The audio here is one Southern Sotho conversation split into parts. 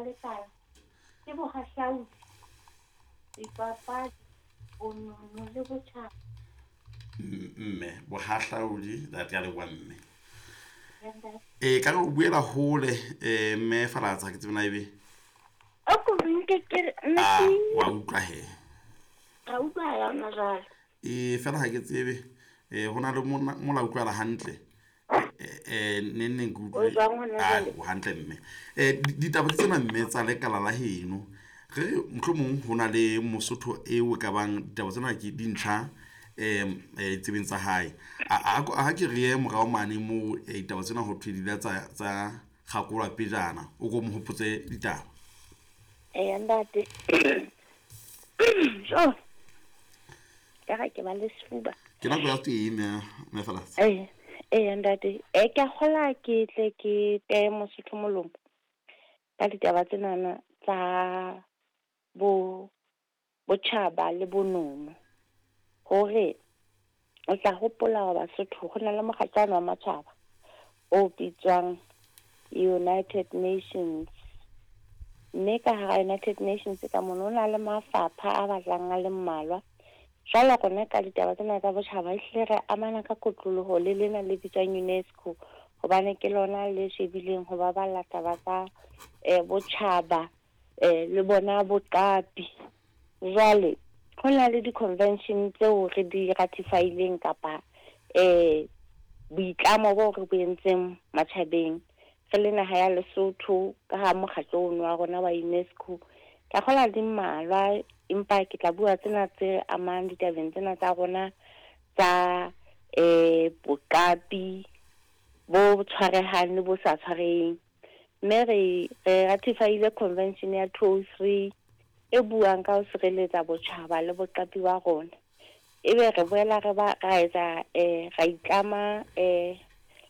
lekala ke bohahlaudi, dipapadi, bonono le botjhaba. Mme bohahlaudi that ya leboha mme. Ee ka re o buela hole mme Falatsa ke tsebe na ebe. O ko nke ke re Ah, wa utlwa he. Ra utlwa ya hona jwale. Ee fela ha ke tsebe ho na le mola utlwala hantle. Neng neng ke utlwe. Ah, o hantle mme. Ditaba ke tsena mme tsa lekala la heno. Re re mohlomong ho na le Mosotho eo e ka bang ditaba tsena ke dintjha tsebeng tsa hae. A ke re ye morao mane moo ditaba tsena ho thwe di la tsa kgakolwa pejana. O ko mo hopotse ditaba. Eya ntate. Jo. Ka ga ke ba le sefuba. Ke nako ya tee mme Falatsa. Ee, ee ntate. Ke a kgola ke tle ke teye Mosotho molomo ka ditaba tsenana tsa bo botjhaba le bonono. Hore o tla hopola hore Basotho ho na le mokgatlwana wa matjhaba o bitswang United Nations. Mme ka hara United Nations ka mono ho na le mafapha a batlang a le mmalwa. Jwale rona ka ditaba tsena tsa botjhaba ehlile re amana ka kotloloho le lena le bitswang UNESCO, hobane ke lona le shebileng ho baballa taba tsa botjhaba le bona boqapi. Jwale ho na le di-convention tseo re di ratify-ileng kapa boitlamo bo re bo entseng matjhabeng re le naha ya Lesotho ka ha mokgatlo ono wa rona wa UNESCO. Ka kgola di mmalwa, empa ke tla bua tsena tse amang ditabeng tsena tsa rona tsa boqapi bo tshwarehang le bo sa tshwareheng. Mme re ratify-ile convention ya 203 e buang ka ho sireletsa botjhaba le boqapi ba rona. Ebe re boela re ba ra etsa ra itlama le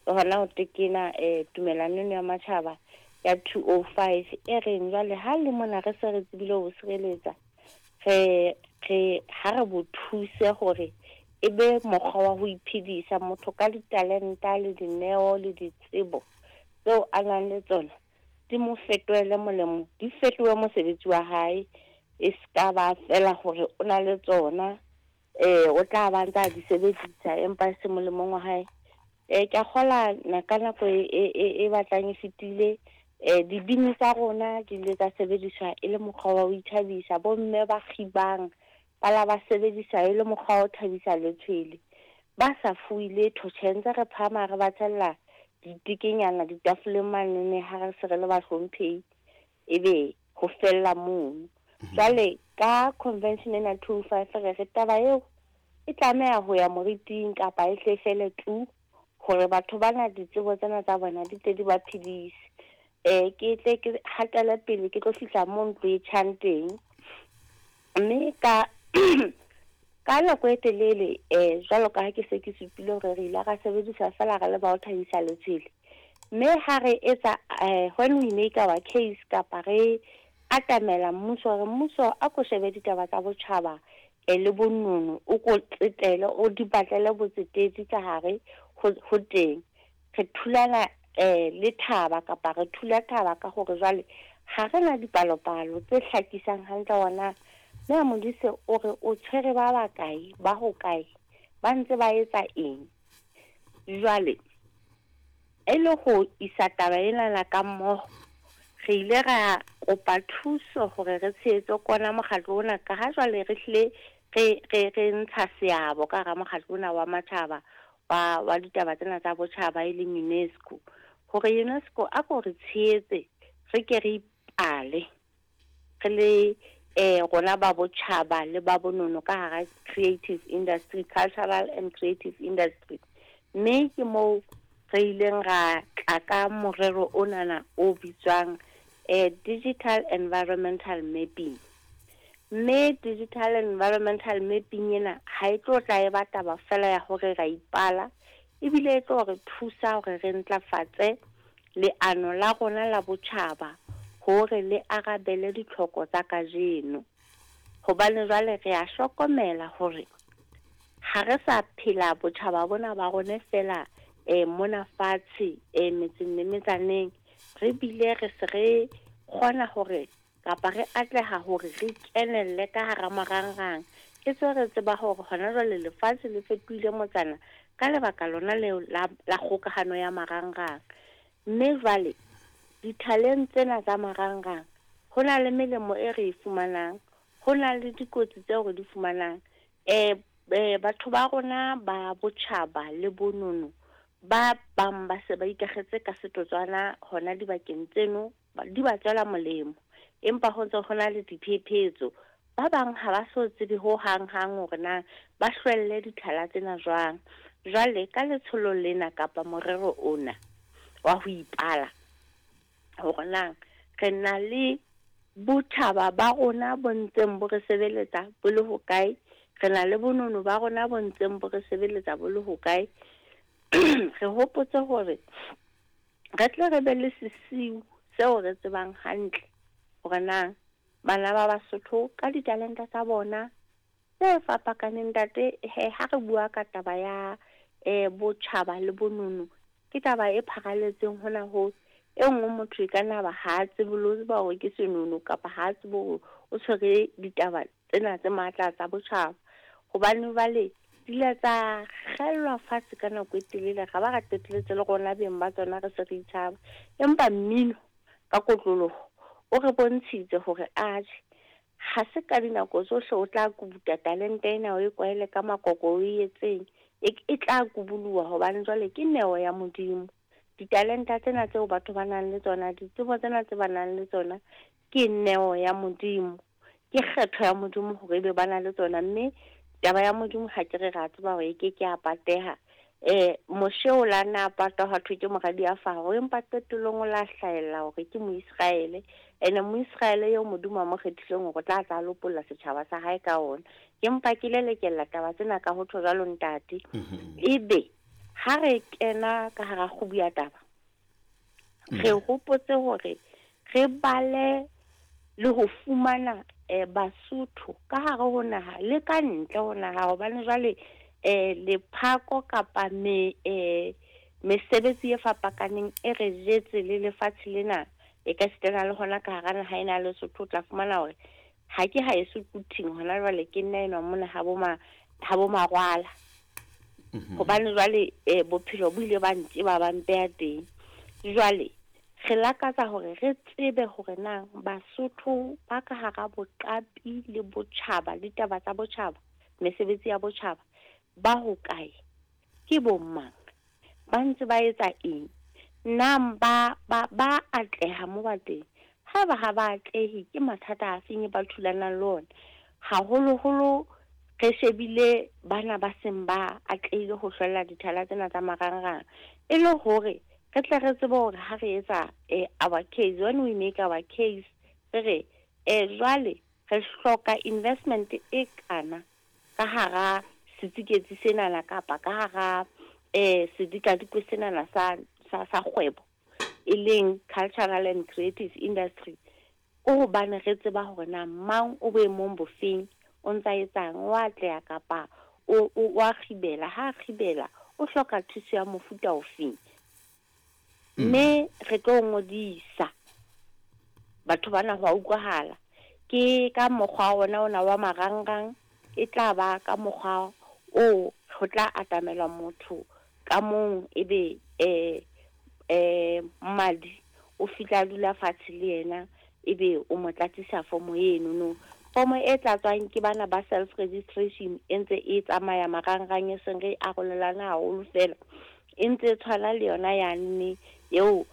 hona ho tekena tumellano eno ya matjhaba ya 205 e reng jwale ha le mona re se re tsebile ho sireletsa, re ha re bo thuse hore e be mokgwa wa ho iphedisa motho ka ditalenta le dineo le ditsebo tseo a nang le tsona, di mo fetohele molemo, di fetohe mosebetsi wa hae, e ska ba fela hore o na le tsona, o tla ba ntsa di sebedisa empa e se molemong wa hae. Ke a kgola ka nako e batlang e fetile, dibini tsa rona di ile tsa sebediswa e le mokgwa wa ho ithabisa, bomme ba kgibang ba la ba sebedisa e le mokgwa wa ho thabisa letshwele, ba sa fuwe letho. Tjhe, ntse re phahama re ba tshella ditekenyana ditafoleng manene ha re se re le bahlomphehi, ebe ho fella mono. Jwale ka convention ena 205 re re taba eo e tlameha ho ya moriting kapa e hle fele tu, hore batho bana ditsebo tsena tsa bona di tle di ba phedise. Ke tle ke hatele pele ke tlo fihla mo ntlo e tjhang teng. Mme ka ka nako e telele jwalo ka ha ke se ke supile hore re ile ra sebedisa fela re le ba ho thabisa letshwele. Mme ha re etsa when we make our case kapa re atamela mmuso hore mmuso a ko shebe ditaba tsa botjhaba le bonono, o ko tsetele, o di batlele botsetedi ka hare ho teng. Re thulana le thaba kapa re thula thaba ka hore jwale ha re na dipalopalo tse hlakisang hantle hona mme Modise o re o tshwere ba bakae, ba hokae, ba ntse ba etsa eng. Jwale e le ho isa taba ena ka mmoho, re ile ra kopa thuso hore re tshehetse kona mokgatlo ona, ka ha jwale re hlile re ntsha seabo ka hara mokgatlo ona wa matjhaba wa ditaba tsena tsa botjhaba e leng UNESCO, hore UNESCO a ko re tshehetse re ke re ipale re le rona ba botjhaba le ba bonono ka hara creative industry, cultural and creative industry. Mme ke moo re ileng ra tla ka morero onana o bitswang digital environmental mapping. Mme digital environmental mapping ena ha e tlo tla e ba taba fela ya hore ra ipala, ebile e tlo re thusa hore re ntlafatse leano la rona la botjhaba hore le arabele ditlhoko tsa kajeno. Hobane jwale re a hlokomela hore ha re sa phela botjhaba bona ba rona fela mona fatshe metseng le metsaneng, re bile re se re kgona hore kapa re atleha hore re kenelle ka hara marangrang. E tswe re tseba hore hona jwale lefatshe le fetohile motsana ka lebaka lona leo la, la kgokahano ya marangrang. Mme jwale dithaleng tsena tsa marangrang ho na le melemo e re e fumanang, ho na le dikotsi tseo re di fumanang. Batho ba rona ba botjhaba le bonono ba bang ba se ba ikakgetse ka setotswana hona dibakeng tseno, di ba tswela molemo. Empa ho ntse ho na le diphephetso. Ba bang ha ba so tsebe ho hang hang hore na ba hlwelle dithala tsena jwang. Jwale ka letsholo lena kapa morero ona wa ho ipala hore na re na le botjhaba ba rona bo ntseng bo re sebeletsa bo le hokae, re na le bonono ba rona bo ntseng bo re sebeletsa bo le hokae. Re hopotse hore re tle re be le sesiu seo re tsebang hantle hore na bana ba Basotho ka ditalenta tsa bona tse fapakaneng. Ntate, he ha re bua ka taba ya botjhaba le bonono, ke taba e pharaletseng hona ho e nngwe motho e ka nna ba ha a tsebe le ho tseba hore ke senono kapa ha a tsebe hore o tshwere ditaba tsena tse matla tsa botjhaba. Hobane jwale di ile tsa kgellwa fatshe ka nako e telele, ra ba ra qetelletse le rona beng ba tsona re se re itshaba. Empa mmino ka kotloloho o re bontshitse hore atjhe, ha se ka dinako tsohle o tla kubuta talente ena o e kwaele ka makoko o e etseng, e tla kubuluwa hobane jwale ke neo ya Modimo. Ditalenta tsena tseo batho ba nang le tsona, ditsebo tsena tse ba nang le tsona, ke neo ya Modimo, ke kgetho ya Modimo hore ebe ba na le tsona. Mme taba ya Modimo ha ke re ra tseba hore e ke ke ya pateha. Moshe o la na patwa hwa thwe ke moradi ya Faro, empa qetellong o la hlahella hore ke Moisraele. Ene Moisraele eo Modimo a mo kgethileng hore o tla tla lopolla setjhaba sa hae ka ona. Ke mpa ke lelekella taba tsena ka ho tjho jwalo ntate. Ebe ha re kena ka hara kgubu ya taba, re hopotse hore re bale le ho fumana Basotho ka hare ho naha le ka ntle ho naha, hobane jwale lephako kapa mesebetsi e fapakaneng e re jetse le lefatshe lena, e ka sitana le hona ka hara naha ena ya Lesotho. O tla fumana hore ha ke haeso Quthing hona jwale, ke nna enwa mona ha bo ma, ha bo Marwala. Hobane jwale bophelo bo ile ba ntjeba ba mpeha teng. Jwale re lakatsa hore re tsebe hore na Basotho ba ka hara boqapi le botjhaba le taba tsa botjhaba, mesebetsi ya botjhaba, ba hokae, ke bo mang, ba ntse ba etsa eng, na ba ba ba atleha mo ba teng. Haeba ha ba atlehe, ke mathata a feng ba thulanang le ona, haholoholo re shebile bana ba seng ba atlehile ho hlwella dithala tsena tsa marangrang, e le hore re tle re tsebe hore ha re etsa our case, when we make our case, re re jwale re hloka investment e kana ka hara setsiketsi senana kapa ka hara sedikadikwe senana sa sa sa kgwebo e leng cultural and creative industry, ko hobane re tseba hore na mang o boemong bofeng, o ntsa etsang, o atleha kapa o o a kgibela, ha a kgibela o hloka thuso ya mofuta ofeng. Mme re tlo ngodisa batho bana ho a utlwahala, ke ka mokgwa ona ona wa marangrang, e tla ba ka mokgwa oo ho tla atamela motho ka mong, ebe mmadi o fihla a dula fatshe le yena, ebe o mo tlatsisa fomo eno no. Fomo e tlatswang ke bana ba self registration e ntse e tsamaya marangrang, e seng re arolelana haholo fela, e ntse e tshwana le yona yane eo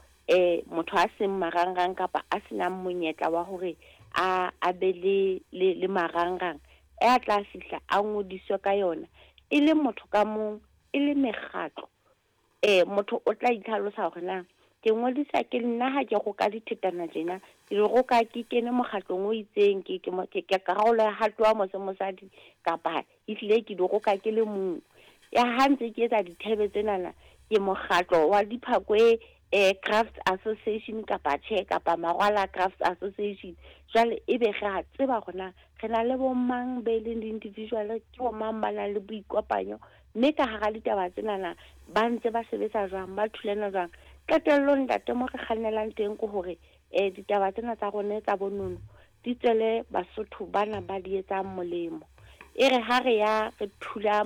motho a seng marangrang kapa a senang monyetla wa hore a a be le le le marangrang, a tla fihla a ngodiswe ka yona, e le motho ka mong, e le mekgatlo. Motho o tla itlhalosa hore na ke ngodisa ke nna ha ke roka dithetana tjena, ke di roka ke kene mokgatlong o itseng, ke ke ke ke karolo ya hato wa mose mosadi, kapa ehlile ke di roka ke le mong. Ya ha ntse ke etsa dithebe tsenana, ke mokgatlo wa Diphakwe Crafts Association kapa tjhe, kapa Marwala Crafts Association. Jwale ebe re a tseba hore na re na le bo mang be leng di-individual, ke bo mang ba nang le boikopanyo, mme ka hara ditaba tsenana ba ntse ba sebetsa jwang, ba thulana jwang. Qetellong ntate, mo re kgannelang teng ke hore Ditaba tsena tsa rona tsa bonono di tswele Basotho bana ba di etsang molemo. E re ha re ya re thula.